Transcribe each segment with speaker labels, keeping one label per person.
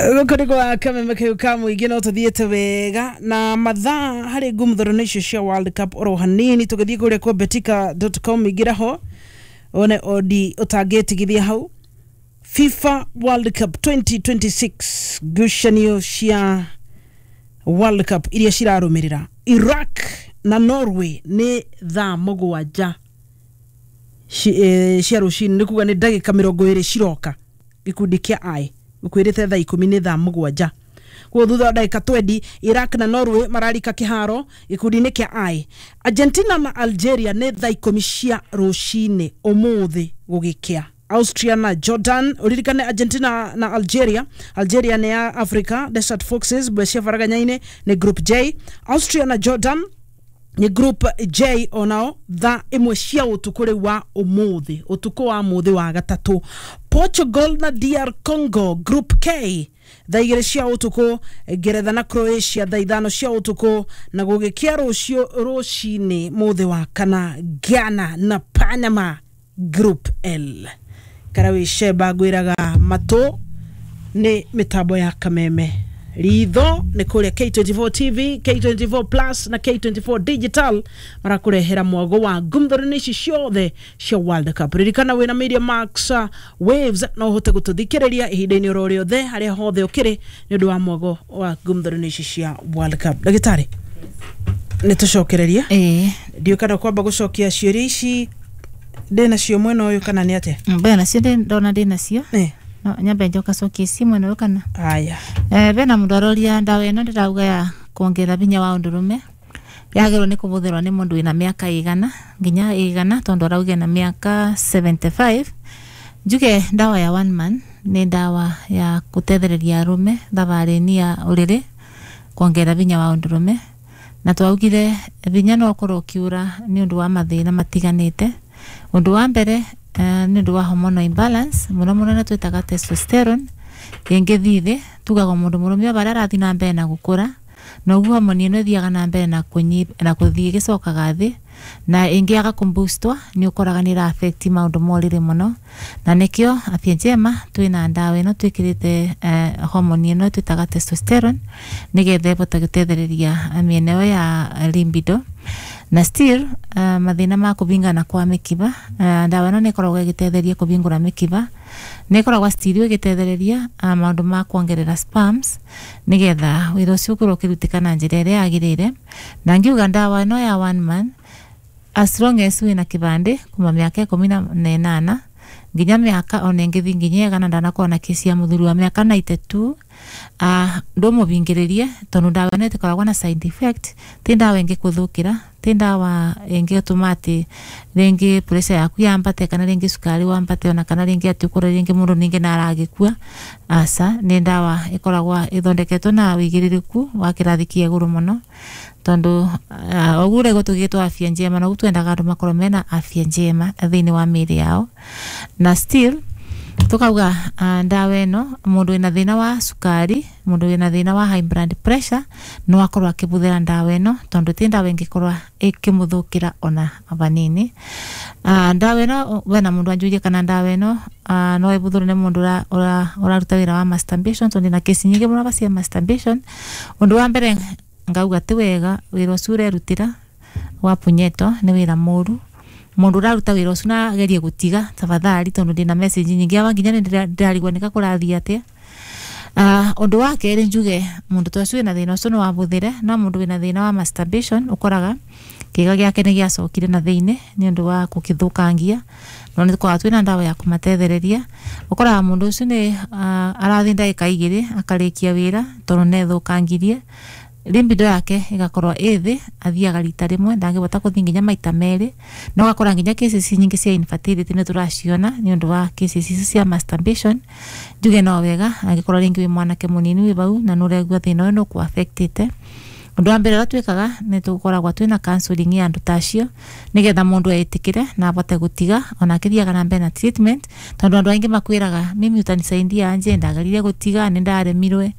Speaker 1: Gũkũ nĩ gwa kameme kau ka mũingĩ, no tũthiĩte wega na mathaa harĩ ngumthoro icio cia World Cup oro hanini. Tũgĩthiĩ kũrĩa kwa betika.com, ingĩra ho one odi ũtangĩtigithia hau. FIFA World Cup 2026, ngucanio cia World Cup iria cirarũmĩrĩra, Iraq na Norway nĩ thaa 7 cia rũcinĩ, nĩ kuga nĩ ndagĩka 20 ciroka. Gĩkundi kĩa I gũkwĩrĩte thaa 10 nĩ thaa 7. Koguo thutha wa ndagĩka 20 Iraq na Norway mararika kĩharo gĩkundi-inĩ kĩa I. Argentina na Algeria nĩ thaa 10 cia rũcinĩ ũmũthĩ gũgĩkĩa. Austria na Jordan, ũririkane Argentina na Algeria, Algeria nĩ ya Africa, Desert Foxes, mbwe cia baraganya-inĩ, nĩ group J. Austria na Jordan nĩ group J onao thaa 1 cia ũtukũ rĩu wa ũmũthĩ, ũtukũ wa mũthĩ wa gatatũ. Portugal na DR Congo, group K, thaa 2 cia ũtukũ. Ngeretha na Croatia thaa 5 cia ũtukũ, na gũgĩkĩa rũciũ rũcinĩ mũthĩ wa kana, Ghana na Panama, group L. Karawi Sheba, ngwĩraga matũ nĩ mĩtambo ya kameme, ritho nĩ kũrĩa K24 TV, K24 Plus na K24 Digital marakũrehera mwago wa ngumthoro-inĩ ici ciothe cia World Cup. Ririkana wĩna Media Max Waves no ũhote gũtũthikĩrĩria ihinda-inĩ oro rĩothe, harĩa hothe ũkĩrĩ, nĩ ũndũ wa mwago wa ngumthoro-inĩ ici cia World Cup. Ndagĩtarĩ, nĩ tũcokererie.
Speaker 2: Ĩĩ.
Speaker 1: Ndiũ kana kwamba gũcokia ciũria ici ndĩ nacio mwena ũyũ kana nĩ atĩa?
Speaker 2: Mbere nacio ndona ndĩ nacio. No nyambe njoka cokie ici mwena ũyũ kana?
Speaker 1: Aya.
Speaker 2: Bena mũndũ aroria ndawa ĩno ndĩrauga ya kuongerera hinya wa ũndũrũme yagĩrĩirwo nĩ kũhũthĩrwo nĩ mũndũ wĩna mĩaka ĩigana nginya ĩigana, tondũ arauga na mĩaka 75. Njuge ndawa ya One Man nĩ ndawa ya gũtethereria arũme thabarĩ-inĩ ya ũrĩrĩ, kuongerera hinya wa ũndũrũme. Na twaugire hinya no ũkorwo ũkiura nĩ ũndũ wa mathĩna matiganĩte. Ũndũ wa mbere, nĩ ũndũ wa hormonal imbalance, mũno mũno nĩ twĩtaga testosterone ĩngĩthiĩ thĩ. Tugaga mũndũ mũrũme o harĩa arathiĩ na mbere na gũkũra, noguo homoni ĩno ĩthiaga na mbere na na kũthiĩ ĩgĩcokaga thĩ, na ĩngĩaga kũboostwo nĩ ũkoraga nĩ ĩra affect maũndũ ma ũrĩrĩ mũno. Na nĩkĩo Afya Njema twĩna ndawa ĩno twĩkĩrĩte homoni ĩno twĩtaga testosterone, nĩgetha ĩbote gũtethereria mĩena ĩyo ya libido. Na still mathĩna ma kũbingana kwa mĩkiba, ndawa ĩno nĩ ĩkoragwo ĩgĩtetheria kũbingũra mĩkiba, nĩ ĩkoragwo still ĩgĩtethereria maũndũ ma kuongerera sperms, nĩgetha wĩra ũcio ũkorwo ũkĩrutĩka na njĩra ĩrĩa yagĩrĩire. Na ngiuga ndawa ĩno ya One Man, as long as wĩna kĩbandĩ kuma mĩaka 18 nginya mĩaka ona ĩngĩthiĩ nginya 100, ndanakorwo na kesi ya mũthuri wa mĩaka 92, ndũmũbingĩrĩrie, tondũ ndawa ĩno ĩtikoragwo na side effect. Ti ndawa ĩngĩkũthũkĩra, ti ndawa ĩngĩtũma atĩ rĩngĩ pressure yaku yambate, kana rĩngĩ cukari wambate, ona kana rĩngĩ atĩ ũkore rĩngĩ mũndũ ningĩ nĩ aragĩkua. Aca, nĩ ndawa ĩkoragwo ĩthondeketwo na wĩigĩrĩrĩku wa kĩrathi kĩa igũrũ mũno, tondũ ũguo ũrĩa tũgĩtwo Afya Njema, na ũguo twendaga andũ makorwo mena afya njema thĩinĩ wa mĩĩrĩ yao. Na still tukauga ndawa ĩno, mũndũ wĩna thĩna wa cukari, mũndũ wĩna thĩna wa high blood pressure no akorwo akĩbũthĩra ndawa ĩno, tondũ ti ndawa ĩngĩkorwo ĩkĩmũthũkĩra ona vanini. Ndawa ĩno, wena mũndũ anjũrie kana ndawa ĩno no ĩbũthĩrwo nĩ mũndũ ũraruta wĩra wa masturbation, tondũ ndĩna kesi nyingĩ mũno cia masturbation. Ũndũ wa mbere ngauga ti wega wĩra ũcio ũrerutĩra wa punyeto, nĩ wĩra mũru. Mũndũ ũraruta wĩra ũcio na agerie gũtiga tafadhali, tondũ ndĩna message nyingĩ awa nginya nĩ ndĩrarigwo nĩka kũrathiĩ atĩa. Ũndũ wa kerĩ njuge mũndũ ta ũcio wĩna thĩna ũcio no abũthĩre, no mũndũ wĩna thĩna wa masturbation ũkoraga kĩga gĩake nĩ gĩacokire na thĩinĩ nĩ ũndũ wa gũkĩthũkangia, no nĩ tũkoragwo twĩna ndawa ya kũmatethereria. Ũkoraga mũndũ ũcio nĩ arathiĩ ndagĩka 2 akarĩkia wĩra, tondũ nĩ ethũkangirie. Libido yake ĩgakorwo ĩ thĩ, athiaga rita rĩmwe, ndangĩbota kũthiĩ nginya maita merĩ, na ũgakora nginya cases nyingĩ cia infertility nĩ tũraciona nĩ ũndũ wa cases ici cia masturbation. Njuge no wega angĩkorwo rĩngĩ wĩ mwanake mũnini wĩ bau na nĩ ũraigua thĩna ũyũ nĩ ũkũ affectĩte, ũndũ wa mbere ũrĩa twĩkaga nĩ tũkoragwo twĩna counseling ya andũ ta acio, nĩgetha mũndũ etĩkĩre na abote gũtiga ona akĩthiaga na mbere na treatment, tondũ andũ aingĩ makwĩraga, "Mimi utanisaidia aje? Ndageririe gũtiga nĩ ndaremirwe."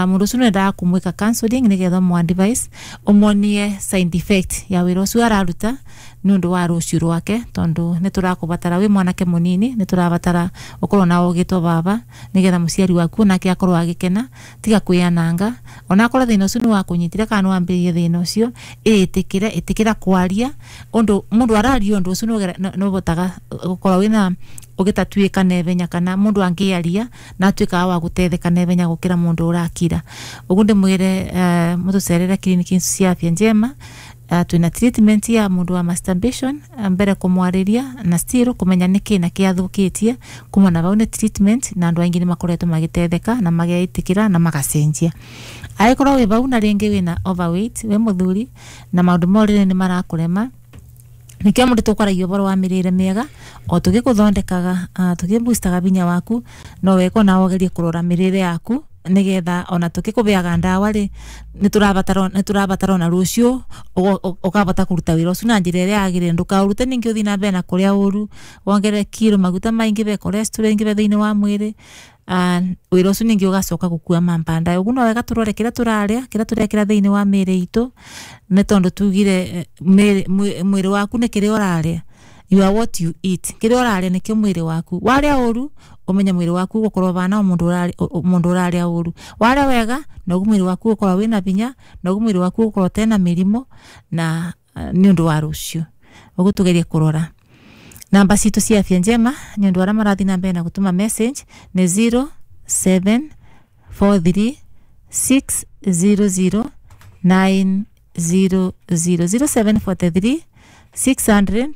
Speaker 2: Mũndũ ũcio nĩendaga kũmwĩka counseling, nĩgetha ũmũ advice, ũmuonie side effect ya wĩra ũcio araruta. nĩ ũndũ wa rũciũ rwake tondu nĩ tũrakũbatara wĩ mwanake mũnini nĩ tũrabatara ũkorwo na ũgĩtwo baba nĩgetha mũciari waku onake akorwo agĩkena tiga kwĩananga onakorwo thĩna ũcio nĩ wakũnyitire kana nĩ wambĩrĩirie thĩna ũcio ĩtĩkĩre ĩtĩkĩra kwaria ũndũ mũndũ araria ũndũ ũcio nĩ ũhotaga gũkorwo wĩna ũgĩtatuĩka naihenya kana mũndũ angĩaria na atuĩkaga wa gũtetheka naihenya gũkĩra mũndũ ũrakira ũguo ndĩmwĩre mũtũcerere kiriniki cia Afya Njema. Twina treatment ya mundu wa masturbation mbere kumwariria na still kumenya niki na kiathukitie kuma na bau ni treatment na andu aingi ni makoretwo magitetheka na mageitikira na magacenjia aikorwo wi bau na ringi wina overweight we muthuri na maundu morire ni marakurema nikio mundu tukwaragia uboro wa mirire miega o tugikuthondekaga tugiboostaga binya waku no weko na wogerie kurora mirire yaku nigetha ona tukikubeaga ndawa ri niturabatara ona rucio ukabata kuruta wira ucio na njira iria yagirire ndukaurute ningi uthi na mbere na kuria uru wongerere kiro maguta maingi be cholesterol ingi be thiini wa mwiri wira ucio ningi ugacoka gukua mambanda uguo no wega turore kiria turaria kiria turekira thiini wa miiri itu ni tondu tugire mwiri waku ni kiria uraria. You are what you eat. Kiria uraria nikio mwiri waku. Waria uru umenye mwiri waku gukorwo bana mundu uraria uru. Waria wega noguo mwiri waku gukorwo wina binya noguo mwiri waku gukorwo tena mirimo na ni undu wa rucio. Uguo tugerie kurora. Namba citu cia Afya Njema ni undu aria marathi na mbere na gutuma message ni 0743 600 900 0743 600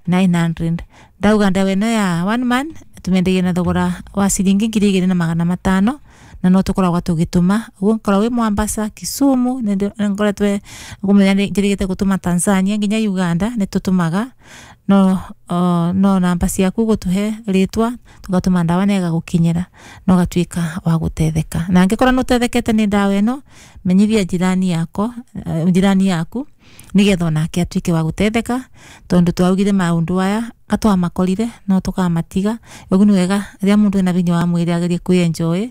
Speaker 2: 900. Ndauga ndawa ĩno ya one man tumendegie na thogora wa ciringi 2500 na no tukoragwo tugituma uguo nkorwo wi Mombasa, Kisumu ngoretwe ngumenya njirigite gutuma Tanzania nginya Uganda ni tutumaga no no namba ciaku gutuhe ritwa tugatuma ndawa na ĩgagukinyĩra na ũgatuĩka wa gũtetheka na angĩkorwo nĩ ũtethekete nĩ ndawa ĩno menyithia jirani yako jirani yaku nigetha onake atuĩke wa gũtetheka tondu twaugire maundu aya katwamakorire no tukamatiga ũguo nĩ wega rĩrĩa mũndũ ena binya wa mwĩrĩ agerie kwĩenjoy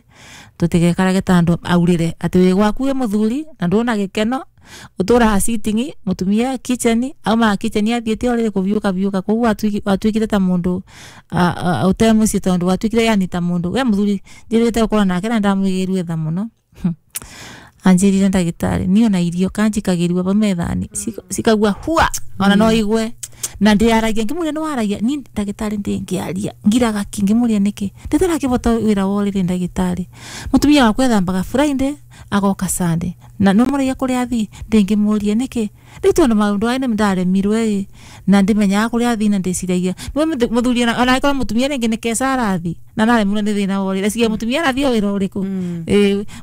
Speaker 2: tũtigekarage ta andũ aurire atĩ wĩ gwaku wĩ mũthuri na ndũna gĩkeno uturaga sitting mutumia kitchen auma kitchen athiĩte orĩrĩ kũbiũka biũka koguo atuĩkire ta mũndũ ũte mũciĩ tondũ watuĩkire yani ta mũndũ we mũthuri njĩrĩte gũkorwo nake na ndamũigĩrue tha mũno anjĩrire ndagĩtarĩ niĩ ona irio kanjikagĩrua ba methani cikagua hua ona no igue na ndiaragia ngĩmũria nĩ waragia ni ndagĩtarĩ ndĩngĩaria ngiraga ki ngĩmũria nĩkĩ ndĩtarakĩbota wĩra wa ũrĩrĩ ndagĩtarĩ mũtumia wakwa ethambaga Friday agoka Sunday na no mũragia kũrĩa athi ndĩngĩmũria nĩkĩ rĩu tondũ maũndũ aya nĩndaremirwe na ndimenyaga kũrĩa athi na ndĩciragia mũthuri ona angĩkorwo mũtumia rĩngĩ nĩ keca arathi na naremirwo nĩ thĩna wa ũrĩrĩ eciria mũtumia arathi o wĩra ũrĩkũ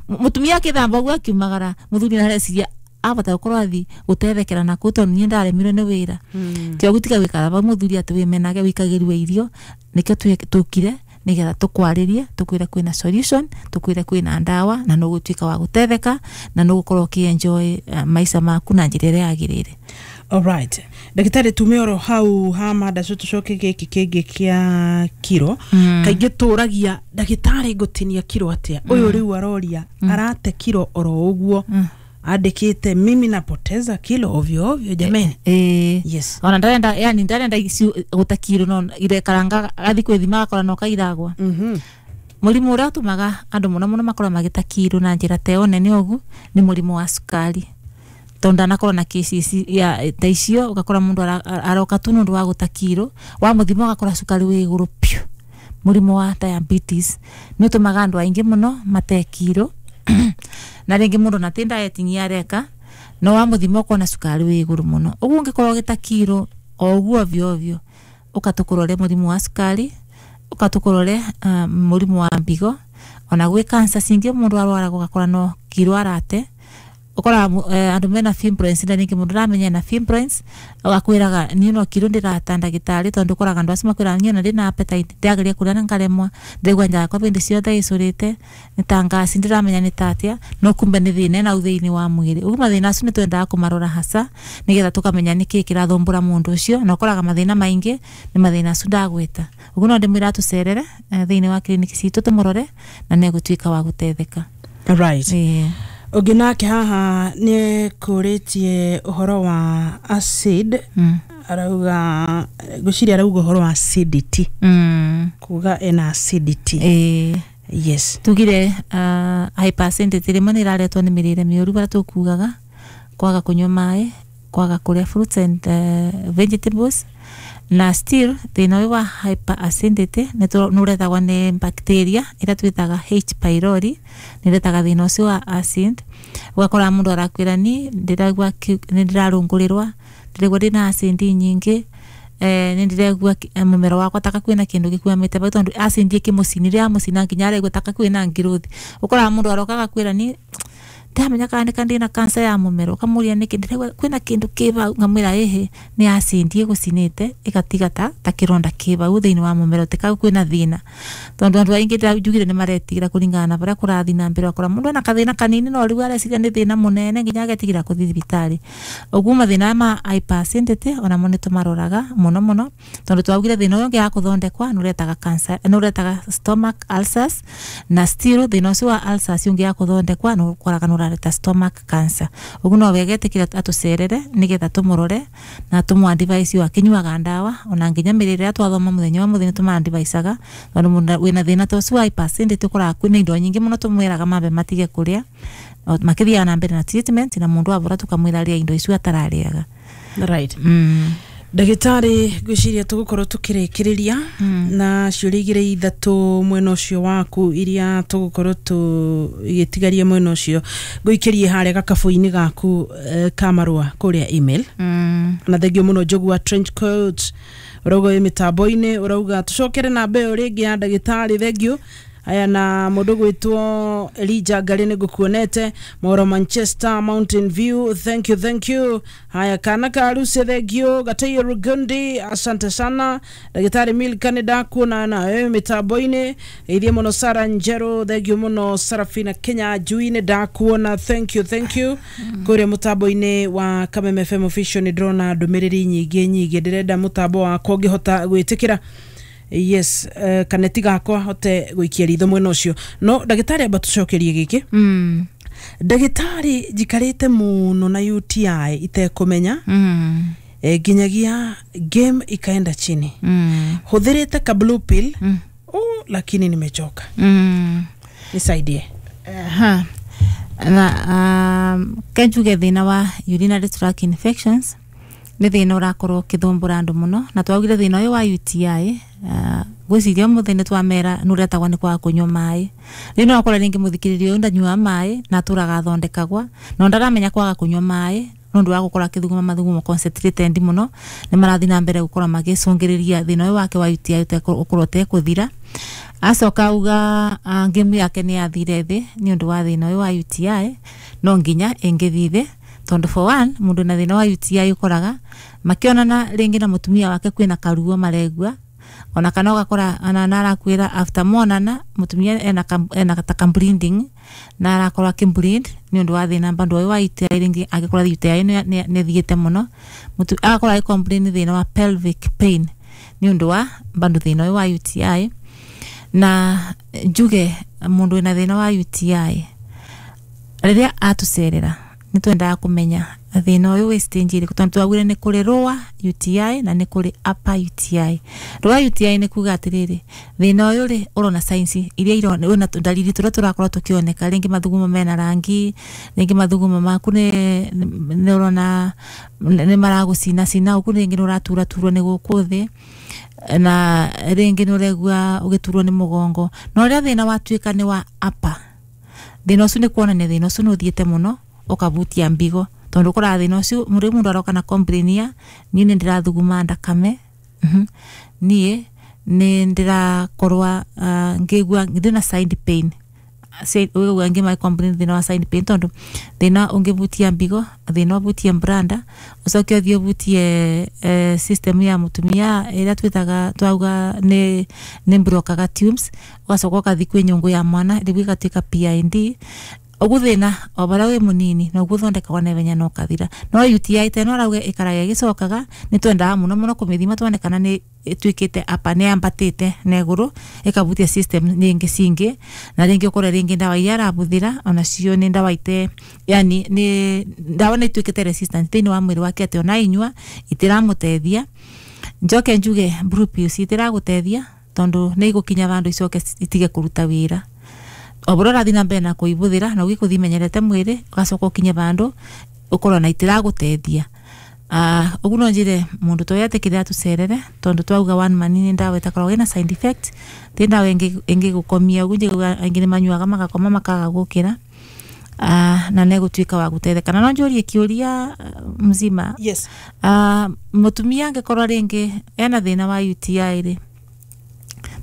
Speaker 2: mũtumia akĩthamba ũguo akiumagara mũthuri areciria abata gukorwo athi gutethekera na kuu tondu nie ndaremirwo ni wira tio gutiga gwikara ba muthuri ati wimenage wikagirwe irio nikio tukire nigetha tukwaririe tukwire kwina solution tukwire kwina ndawa na nugutuika wa gutetheka na nugukorwo ukienjoy maisha maku na njira iria yagirire.
Speaker 1: Alright. Ndagitari tume oro hau ha mada tucoke giki kingi kia kiro kaingĩ tũragia ndagitari ngũtinia kiro atia uyu riu aroria arate kiro oro ũguo andikite mimi napoteza kilo ovyo ovyo jameni. Yes.
Speaker 2: Ona ndarenda yani ndarenda guta kilo no irekaranga athi kwithima akora no kairagwa. Murimu uria utumaga andu muno muno makorwo magita kilo na njira te nene ugu ni murimu wa cukari tondu ndanakorwo na kesi ya ta icio ugakora mundu aroka tu nundu wa guta kilo wa muthima ugakora cukari wi iguru piu. Murimu wa diabetes ni utumaga andu aingi muno mate kilo na ringi mundu na ti dieting areka no wa muthima ukona cukari wi iguru muno uguo ungikorwo ugita kilo o uguo ovyo ovyo ukatukurore murimu wa cukari ukatukurore murimu wa mbigo ona gwi cancer cingi mundu arwaraga ugakora no kilo arate ukora andu mena fibroids na ringi mundu ramenya na fibroids akwiraga ni no kilo ndirata ndagitari tondu ukoraga andu acio makwiraga ni ona ndina appetite ndiageria kuria na ngaremwa ndegwa njaa kwa bindi ciothe icurite ni ta ngasi ndiramenya ni tatia no kumbe ni thina na uthini wa mwiri uguo mathina acio ni twendaga kumarora hasa nigetha tukamenya niki kirathumbura mundu ucio na ukoraga mathina maingi ni mathina acio ndagwita uguo no ndimwira tucerere thiini wa kiriniki citu tumurore na negutuika wa gutetheka.
Speaker 1: Right. Ũngĩ nake haha nĩ kũrĩtie ũhoro wa acid Arauga ngwĩciria arauga ũhoro wa acidity. Kuga ena acidity. Yes.
Speaker 2: Tugire hypersensitivity rimwe nä iraretwo nä mä rä re mä å ru barä a tå kugaga kwaga kũnyua maĩ, kwaga kũrĩa fruits and vegetables, na still thĩna ũyũ wa hyperacidity nĩ ũretagwo nĩ bacteria ĩrĩa twĩtaga H pylori, nĩ ĩretaga thĩna ũcio wa acid. Ũgakora mũndũ arakwĩra ni ndĩraigua nĩ ndĩrarũngũrĩrwa, ndĩraigua ndĩna acid nyingĩ, nĩ ndĩraigua mũmero wakwa taka kwĩna kĩndũ gĩkwamĩte bau, tondũ acid ĩkĩmũcinire yamũcina nginya araigua taka kwĩna ngirothi. Ũkoraga mũndũ aroka agakwĩra ni ndamenya kana nĩ ndĩna cancer ya mũmero, ũkamũria nĩkĩ, ndĩraigua kwĩna kĩndũ kĩ bau, ngamwĩra ĩhĩ nĩ acid ĩgũcinĩte ĩgatiga ta kĩronda kĩ bau thĩinĩ wa mũmero, ti kau kwĩna thĩna. Tondũ andũ aingĩ njugire nĩ maretigĩra kũringana na barĩa kũrathiĩ na mbere, ũgakora mũndũ ena kathĩna kanini no rĩu areciria nĩ thĩna mũnene nginya agetigĩra kũthiĩ thibitarĩ. Ũguo mathĩna ma hyperacidity onamo nĩ tũmaroraga mũno mũno, tondũ twaugire thĩna ũyũ ũngĩaga kũthondekwa nĩ ũretaga cancer, nĩ ũretaga stomach ulcers, na still thĩna ũcio wa ulcers ũngĩaga kũthondekwa nĩ ũkoraga nĩ ũrareta stomach cancer. Ũguo no wega etĩkĩre atũcerere nĩgetha tũmũrore na tũmũ advise o akĩnyuaga ndawa, ona nginya mĩrĩre ĩrĩa twathoma mũthenya wa mũthenya nĩ tũma advisaga, tondũ mũndũ wĩna thĩna ta ũcio wa hyperacidity ũkoraga kwĩna indo nyingĩ mũno tũmwĩraga mambe matige kũrĩa makĩthiaga na mbere na treatment, na mũndũ abora tũkamwĩra arĩe indo icio atararĩaga.
Speaker 1: Right. Ndagĩtarĩ, ngwĩciria tũgũkorwo tũkĩrĩkĩrĩria na ciũria igĩrĩ ithatũ mwena ũcio waku iria tũgũkorwo tũgĩtigaria mwena ũcio ngũikĩrie harĩa gakabũ-inĩ gaku ka marũa kũrĩa email. Na thengio mũno Njogu wa trench coat, ũrauga wĩ mĩtambo-inĩ, ũrauga tũcokere namba ĩyo rĩngĩ ya ndagĩtarĩ. Thengio. Aya, na mũndũ gwĩtwo Elijah Ngarĩ nĩ ngũkuonete Moro Manchester Mountain View, thank you, thank you. Haya, kana ka Rusi, thengio. Gataio Rugundi, asante sana. Ndagĩtarĩ Milka nĩ ndakuona nawe mĩtambo-inĩ, ithie mũno. Sara Njeru, thengio mũno. Sarafina Kenya Njui nĩ ndakuona, thank you, thank you. Kũrĩa mũtambo-inĩ wa Kameme FM official nĩ ndĩrona ndũmĩrĩri nyingĩ nyingĩ, ndĩrenda mũtambo wakwa ũngĩhota gwĩtĩkĩra, yes, kaneti gakwa hote gũikia ritho mwena ũcio. No ndagĩtarĩ, amba tũcokerie gĩkĩ. Ndagĩtarĩ, njikarĩte mũno na UTI itekũmenya, nginyagia game ikaenda chini. Hũthĩrĩte ka blue pill, oh, lakini nimechoka. Nisaidie.
Speaker 2: Aha. Na kenjuge thĩna wa urinary tract infections nĩ thĩna ũrakorwo ũkĩthumbũra andũ mũno, na twaugire thĩna ũyũ wa UTI, ngwĩciria ũmũthĩ nĩ twamera nĩ ũretagwo nĩ kwaga kũnyua maĩ. Rĩu no ũkore rĩngĩ mũthikĩrĩria ũyũ ndanyuaga maĩ na atũraga athondekagwa, no ndaramenya kwaga kũnyua maĩ nĩ ũndũ wa gũkorwo akĩthuguma mathugumo concentrated mũno nĩ marathiĩ na mbere gũkorwo magĩcũngĩrĩria thĩna ũyũ wake wa UTI ũkorwo ũtekũthira. Acoka auga ngĩmu yake nĩ yathire thĩ nĩ ũndũ wa thĩna ũyũ wa UTI. No nginya ĩngĩthiĩ thĩ, tondũ for one, mũndũ na thĩna wa UTI ũkoraga makĩonana rĩngĩ na mũtumia wake kwĩna karuo maregua, ona kana ũgakora ona narakwĩra after monana mũtumia ena ta ka bleeding na arakorwo akĩ bleed nĩ ũndũ wa thĩna bado ũyũ wa UTI. Rĩngĩ angĩkorwo UTI nĩ ĩthiĩte mũno, agakorwo agĩ complain thĩna wa pelvic pain nĩ ũndũ wa bado thĩna ũyũ wa UTI. Na njuge mũndũ wĩna thĩna wa UTI rĩrĩa atũcerera nĩ twendaga kũmenya thĩna ũyũ wĩ stage ĩrĩkũ, tondũ twaugire nĩ kũrĩ lower UTI na nĩ kũrĩ upper UTI. Lower UTI nĩ kuga atĩrĩrĩ, thĩna ũyũ rĩ ũrona signs iria irona wĩna ndariri tũrĩa tũrakorwo tũkĩoneka, rĩngĩ mathugumo mena rangi, rĩngĩ mathugumo maku nĩ ũrona nĩ maragũcina cina ũguo, rĩngĩ nĩ ũraturaturwo nĩ gũkũ thĩ, na rĩngĩ nĩ ũregua ũgĩturwo nĩ mũgongo. Na ũrĩa thĩna watuĩka nĩ wa upper, thĩna ũcio nĩ kuonania thĩna ũcio nĩ ũthiĩte mũno ũkabutia mbigo, tondũ ũkoraga thĩna ũcio rĩu mũndũ aroka na complain ya niĩ nĩ ndĩrathuguma ndakame, niĩ nĩ ndĩrakorwa ngĩigua ndĩna side pain. Ũguo angĩ ma complain thĩna wa side pain, tondũ thĩna ũngĩbutia mbigo, thĩna ũbutie branda, ũcoke ũthiĩ ũbutie system ya mũtumia ĩrĩa twĩtaga twauga nĩ blokaga tubes, ũgacoka ũgathiĩ kwĩ nyũngũ ya mwana rĩu ĩgatuĩka PID. Ogu thina o baria wi munini no guthondekagwo na ihenya na ukathira. No UTI ta ĩno arauga ĩkaraga ĩgĩcokaga, nĩ twendaga mũno mũno kũmĩthima tuone kana nĩ ĩtuĩkĩte apa nĩ yambatĩte na igũrũ ĩkabutia system rĩngĩ cingĩ, na rĩngĩ ũkore rĩngĩ ndawa iria arabuthĩra onacio nĩ ndawa ite, yani nĩ ndawa nĩ ituĩkĩte resistant thĩinĩ wa mwĩrĩ wake atĩ ona inyua itiramũteithia. Njoke njuge blue pills itiragũteithia tondu nĩ igũkinya vandũ icoke itige kũruta wĩra. O bũrĩa ũrathiĩ na mbere na kũibuthĩra na ũgĩkũthi imenyerete mwĩrĩ, ũgacoka ũkinye vandũ ũkorwo na itiragũteithia. Ũguo no njĩre mũndũ ta ũyũ etĩkĩre atũcerere, tondu twauga one man nĩ ndawa ĩtakoragwo ĩna side effect, ti ndawa ĩngĩgũkomia ũguo njiguaga aingĩ nĩ manyuaga magakoma makaga gũkĩra. Na nĩ egũtuĩka wa gũteithĩka. Na no njũrie kĩũria mzima?
Speaker 1: Yes.
Speaker 2: Mũtumia angĩkorwo rĩngĩ ena thĩna wa UTI rĩ,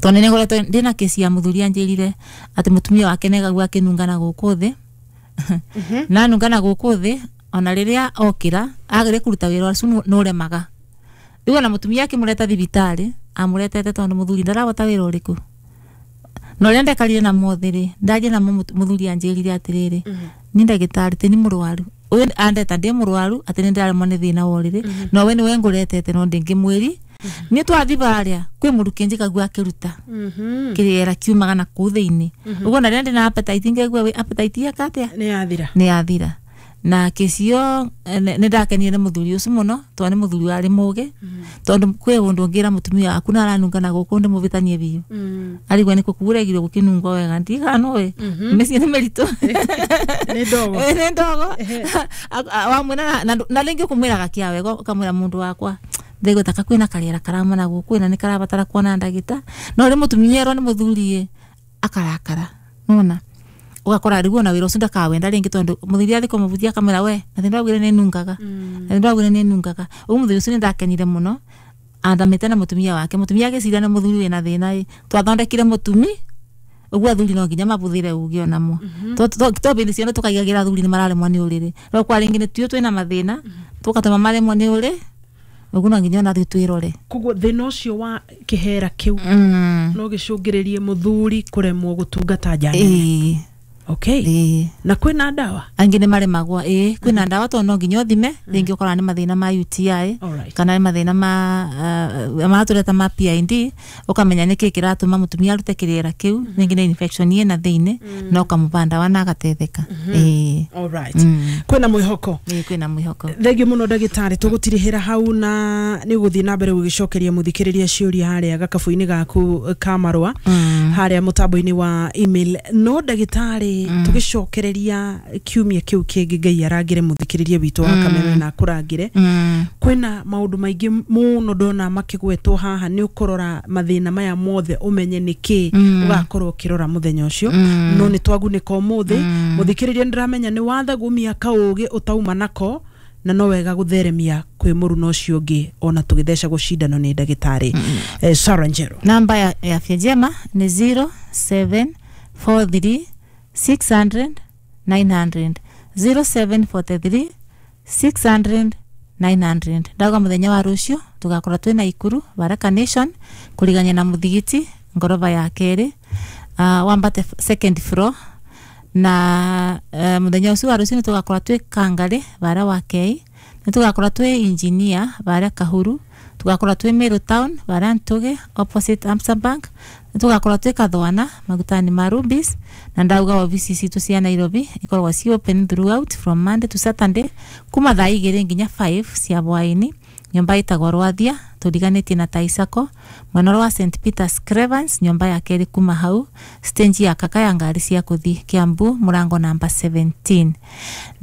Speaker 2: tondũ nĩ ngoretwo ndĩna kesi ya mũthuri anjĩrire atĩ mũtumia wake nĩaigagua akĩnunga na gũkũ thĩ, na anunga na gũkũ thĩ ona rĩrĩa okĩra agĩrĩ kũruta wĩra ũcio nĩũremaga. Rĩu ona mũtumia akĩmũreta thibitarĩ amũretete tondũ mũthuri ndarahota wĩra ũrĩkũ. Na ũrĩa ndekarire na mothĩ rĩ, ndaria namo mũthuri anjĩrire atĩrĩrĩ, ni ndagĩtarĩ ti ni mũrwaru ũyũ andeta ndĩ mũrwaru atĩ nĩ ndĩraremwo nĩ thĩna wa ũrĩrĩ, no we nĩwe ngũretete no ndĩngĩmwĩri niĩ twathi barĩa kwĩ mũrukĩ njikagua akĩruta kĩrĩera kiumaga na kũu thĩinĩ ũguo, na rĩrĩa ndĩna appetite ngaigua wĩ appetite yaka atĩa
Speaker 1: nĩ yathira.
Speaker 2: Nĩ yathira. Na kesi ĩyo nĩ ndakenire nĩ mũthuri ũcio mũno tondũ nĩ mũthuri warĩ mũgĩ, tondũ kwĩ ũndũ ũngĩra mũtumia waku na aranunga na gũkũ ndĩmũbĩtanie biũ, arigua nĩ kũkuregirwo gũkĩnungwo wega ndigana nũĩ mĩciĩ nĩ mĩritũ.
Speaker 1: Nĩ ndogo.
Speaker 2: Nĩ ndogo wamwĩra na rĩngĩ ũkũmwĩraga kĩa wega, ũkamwĩra mũndũ wakwa ndĩgua taka kwĩna karĩera karama na gũkũ na nĩ karabatara kuona ndagĩta, no rĩ mũtumia erwo nĩ mũthuri akarakara nona ũgakora rĩu ona wĩra ũcio ndakawenda rĩngĩ, tondũ mũthuri athiĩ kũmũbutia akamwĩra we na ndĩraugire nĩ nungaga, na ndĩraugire nĩ nungaga. Ũguo mũthuri ũcio nĩ ndakenire mũno andamĩte na mũtumia wake, mũtumia agĩciria nĩ mũthuri wĩna thĩna ĩ twathondekire mũtumi ũguo. Athuri no nginya mabuthĩre ũgĩ onamo to bĩndĩ ciothe tũkaigagĩra athuri nĩ mararemwo nĩ ũrĩrĩ, no kwa rĩngĩ nĩ tuo twĩna mathĩna tũgatũma maremwo nĩ ũrĩ, ũguo no nginya ona ithuĩ twĩrore.
Speaker 1: Koguo thĩna ũcio wa kĩhera kĩu no gĩcũngĩrĩrie mũthuri kũremwo gũtungata nja nene?
Speaker 2: Ĩĩ.
Speaker 1: Okay.
Speaker 2: Ĩĩ.
Speaker 1: Na kwĩna ndawa?
Speaker 2: Angĩ nĩ maremagwo, ĩĩ, kwĩna ndawa, tondũ no nginya ũthime rĩngĩ ũkorana nĩ mathĩna ma UTI kana nĩ mathĩna ma maratũreta ma PID, ũkamenya nĩkĩ kĩratũma mũtumia arute kĩrĩra kĩu, rĩngĩ nĩ infection ĩna thĩinĩ, na ũkamũba ndawa na agateithĩka, ĩĩ.
Speaker 1: Alright. Kwĩna mwĩhoko?
Speaker 2: Ĩĩ, kwĩna mwĩhoko.
Speaker 1: Thengio mũno ndagĩtarĩ, tũgũtirihĩra hau na nĩ ũgũthiĩ na mbere gũgĩcokeria mũthikĩrĩria ciũria harĩa gakabu-inĩ gaku ka marũa harĩa mũtambo-inĩ wa email. No ndagĩtarĩ, tũgĩcokereria kiumia kĩu kĩngĩ, Ngai arangĩre mũthikĩrĩria witũ wa Kameme na akũrangĩre. Kwĩna maũndũ maingĩ mũno ndona makĩgwetwo haha, nĩ ũkũrora mathĩna maya mothe ũmenye nĩkĩ ũgakorwo ũkĩrora mũthenya ũcio. No nĩ twagunĩka ũmũthĩ. Mũthikĩrĩria, nĩndĩramenya nĩ wathagumia kaũgĩ ũtauma nako, na no wega gũtheremia kwĩ mũruna ũcio ũngĩ ona tũgĩthecagwo cindano nĩ ndagĩtarĩ Sarah Njeru.
Speaker 2: Namba ya Afya Njema ni 0743 600 900, 0743 600 900. Ndauga muthenya wa rucio tugakorwo twina Ikuru Baraka Nation kurigania na muthigiti ngoroba ya keri, wambate second floor. Na muthenya ucio wa rucio nitugakorwo twi Kangari bara wa Kei, nitugakorwo twi Engineer bara Kahuru, tugakorwo twi Meru Town bara Ntuge opposite Amsa Bank, nitugakorwo twi Kathwana magutani ma Rubis. Na ndauga obici citu cia Nairobi ikoragwo ci open throughout from Monday to Saturday kuma thaa 2 nginya 5 cia hwaini, nyumba itagwo Rwathia turiganĩtie na Taisako mwena wa St Peter's Cravens, nyumba ya kerĩ kuma hau stage ya kaka ya ngari cia kuthi Kiambu, mũrango namba 17.